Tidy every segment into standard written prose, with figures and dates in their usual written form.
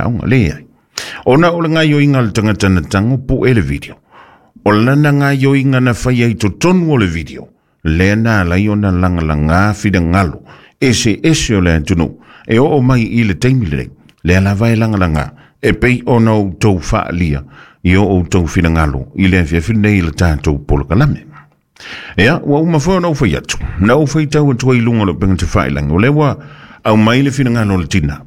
aoga. Leai. Ona o le gaoioiga a le tagata na tago pu'e le video, o lana gaoioiga na faia i totonu o le video, lea na ala ai ona lagalagā finagalo eseese o le atunuu e oo mai i le taimi lenei, lea lava e lagalagā e pei ona outou faaalia i o outou finagalo i le afiafi lenei i le tatou polokalame. Ia, ua uma foi ona ou fai atu, na ou faitau atu ai i luga o le upega tafailagi, o lea ua aumai le finagalo o le tinā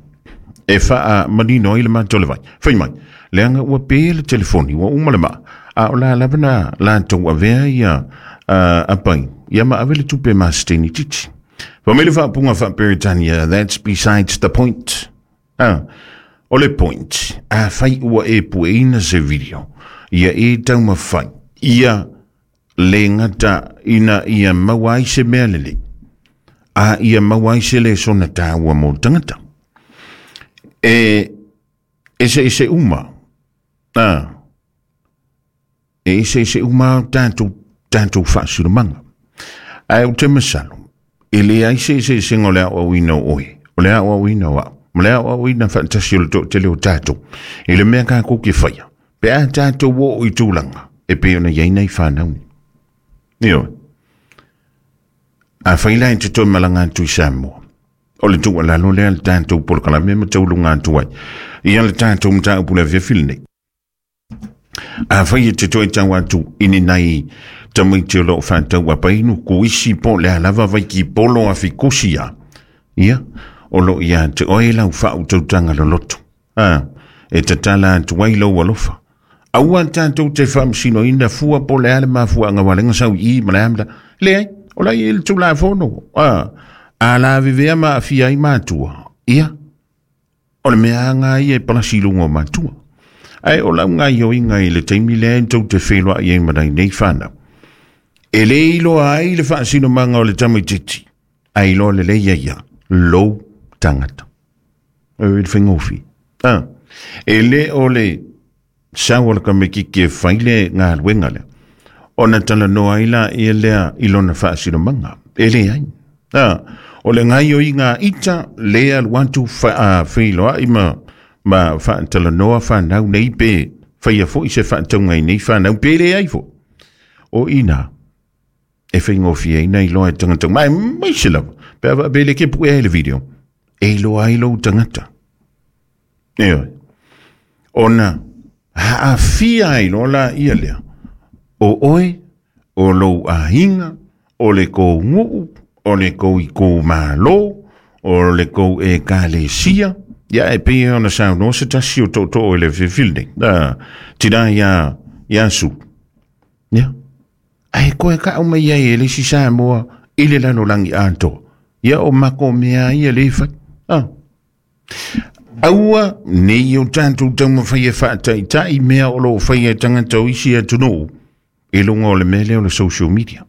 e faamanino ai le mata o le vai. Fai mai, leaga ua pe le telefoni, ua uma le maa, a o la lava na latou avea ia apai, ia ma ave le tupe masiteni titi. Fai mai le faapuga faa-Peretania, that's besides the point. Ah, o le point, afai ua e pueina se video, ia e taumafai, ia le gata ina ia maua ai se mea lelei, a ia maua ai se lesona tāua mo le tagata. E eseese uma, a, e eseese uma tatou, tatou faasinomaga. Ae ou te masalo, e leai se eseesega o le aoaoina o oe, o le aoaoina o au, ma le aoaoina faatasi o le toatele o tatou, i le mea tatou te faia, pe a tatou oo i tulaga e pei ona i ai nai fanau nei. Ioe. Afai la e te toe malaga atu i Samoa, o le tuualalo lea le tatou polokalame ma tauluga atu ai ia le tatou mataupu le afiafi lenei. Afai e te toe tau atu i ni nai tamaiti o lo o faatau apainu, kuisi po o le a lava vaikipolo afikusi a, ia, o lo o ia te oe lau faautautaga loloto. A, e tatala atu ai lou alofa. Aua tatou te faamasinoina fua po o le a le mafuaaga ua ala ai ona sau i i ma le a ma le a. Leai, o la e i ai le Tulafono. A, a lavevea ma aafia ai matua, ia, o le mea lava ia e palasi i luga o matua. Ae o lau gaoioiga i le taimi lea e tou te feiloai ai ma nai nei fanau, e le iloa ai le faasinomaga o le tamaitiiti, ae iloa lelei ai ia lou tagata. E le faigofie. Ah, e le o le sau o le tamaitiiti e fai le galuega lea, ona talanoa ai laia lea i lona faasinomaga. E leai. Ah, o le gaoioiga a ita lea alu atu feiloai ma faatalanoa fanau nei pe faia foi se faatauga i nei fanau pe leai foi. O i inā e faigofie ai na iloa e tagata uma, aemaise lava pe a faapea le ke puea ai le video, e iloa ai lou tagata. Ioe. Ona haafia ai loa laia lea, o oe, o lou aiga, o le kou nuu, o le kou itumalo, o le kou ekalesia, ia e pei ona saunoa se tasi o tootoo i le afiafi lenei, tina ia Sulu. Ia, ae koe kau mai ai e le isi Samoa i le lalolagi atoa. Ia o mako mea ia le fai. Ah. Aua nei o tatou taumafai e faataitai mea o lo o faia e tagata o isi atunuu i luga o le mea lea o le social media.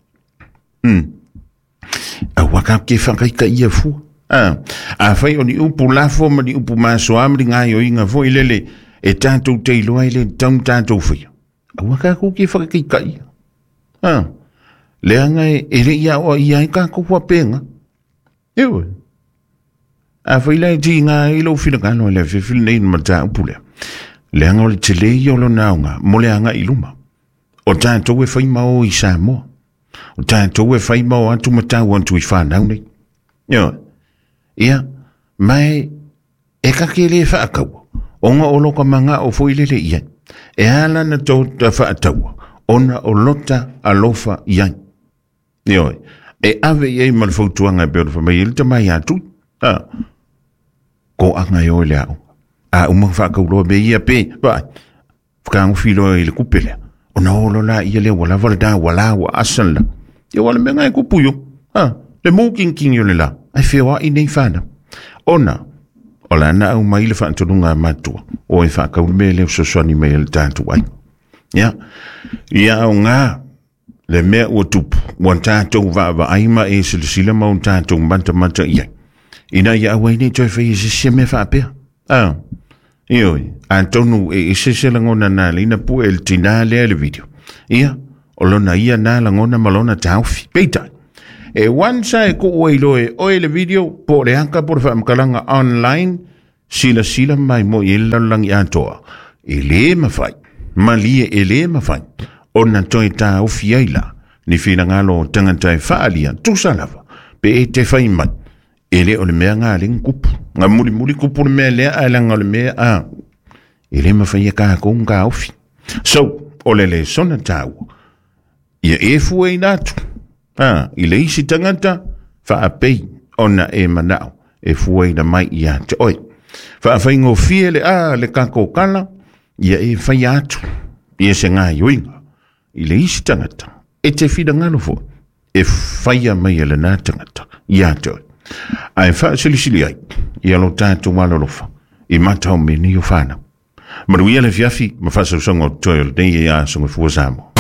Aua ka ke whakaitaia fua. Ah, afai o ni upu lafo ma ni upu masoa ma ni gaoioiga foi lele e tatou te iloa ai le tatau ona tatou faia. Aua tatou te whakaitaia. Ah, leaga e le i aoaia ai tatou faapena. Ioe. Afai la e tiga ai lou finagalo i le afiafi lenei i le mataupu lea, leaga o le tele ia o lona aoga mo le agai i luma. O tatou e fai ma o i Samoa. O tatou e fai ma o atu ma tau atu i fanau nei. Ioe. Ia, ma e kake le faataua, ona o lota manao foi lele i ai. E ala na tota faataua, ona o lota alofa i ai. Ioe, e ave i ai ma le fautuaga e pei ona fai mai ai le tama ia Tui. A, koaga e oe le aoga. A uma ona faatauloa mea ia pe, vaai, fakagofi loa i le kupe lea. Ona o loa laia lea ua lava le da, ua la, ua asa le la. Ia aua o le mea lena e tupu i o. A, le mutinitini o le la, ae feoai nei fanau. Ona, o la na aumai le faatonuga a matua, o e faatau le mea lea e fesoasoani mai ai i le tatou aiga. Ia, ia aoga le mea ua tupu, ua tatou vaavaai ma e silasila ma o tatou matamata i ai, ina ia aua ai ne i toe faia se isi mea faapea. A, ioe, atonu e ese se lagona na alai na pue e le tinā lea i le video. Ia, o lona ia nā lagona ma lona taofi. Peitai, e once a e kuu ai loa e oe le video, po o le aka po o le faamatalaga online, Silasila mai mo i le lalolagi atoa, e lē mafai, malie e lē mafai ona toe taofi ai la ni finagalo o tagata e faaalia tusa lava pe e te fai mai e lē o le mea ga lea kupu ga mulimuli kupu le mea lea ae laga o le mea a e lē mafai e kakou ona taofi. So o le lesona taua ia e fuaina atu a i le isi tagata faapei ona e manao e fuaina mai ia te oe. Faafaigofie le a le kakou kala ia e faia atu ia se gaioiga i le isi tagata e te finagalo foi e faia mai e lenā tagata ia te oe. Ae faasilisili ai ia lo tatou alolofa i mata o mea nei o fanau. Manuia le afiafi ma faasausaga o totoe o lenei aso gafua Samoa.